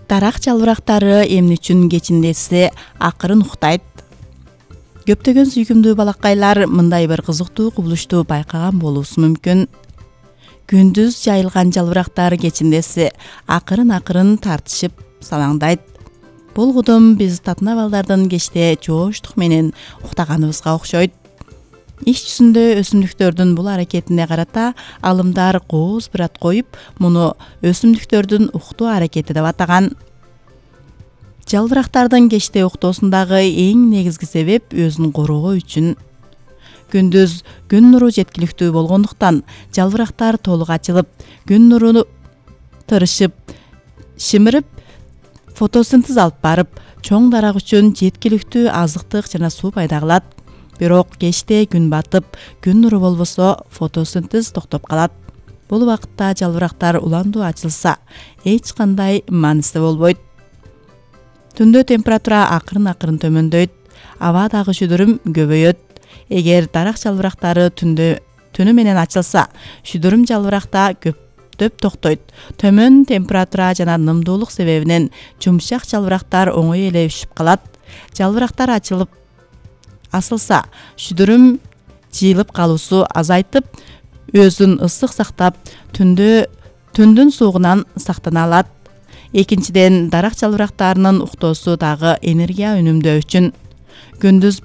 Дарак жалбырактары эмне үчүн кечиндесе акырын уктайт? Көптөгөн сүйкүмдүү балакайлар мындай бир кызыктуу кубулушту байкаган болуусу мүмкүн. Күндүз жайылган жалбырактар кечиндесе акырын тартышып салаңдайт. Бул кудум биз татына балдардын кечте жооштук менен уктаганыбызга окшойт. Иш жүзүндө өсүмдүктөрдүн бул аракетине карата алымдар кооз бир ат коюп, муну өсүмдүктөрдүн уктуу аракети деп атаган. Жалбырактардын кечте уктоосундагы эң негизги себеп өзүн коргоо үчүн. Күндүз күн нуру жеткиликтүү болгондуктан жалбырактар толук ачылып, күн нуруну тырышып, шимирип, фотосинтез алып барып, чоң дарак үчүн жеткиликтүү азыктык жана суу пайда кылат. Бирок кечте күн батып, күн нуру болбосо фотосинтез токтоп калат. Бул убакытта жалбырактар уландуу ачылса, эч кандай мааниси болбойт. Түндө температура акырын төмөндөйт, абадагы шүдүрүм көбөйөт. Эгер дарак жалбырактары түнү менен ачылса, шүдүрүм жалбыракта көптөп токтойт. Төмөн температура жана нымдуулук себебинен жумшак жалбырактар оңой эле үшүп калат. Жалбырактар асылса, шүдүрүм жыйылып калуусу азайтып, өзүн ысык сактап, түндүн суугунан сактана алат. Экинчиден, дарак жалбырактарынын уктоосу дагы энергия үнөмдөө үчүн. Күндүз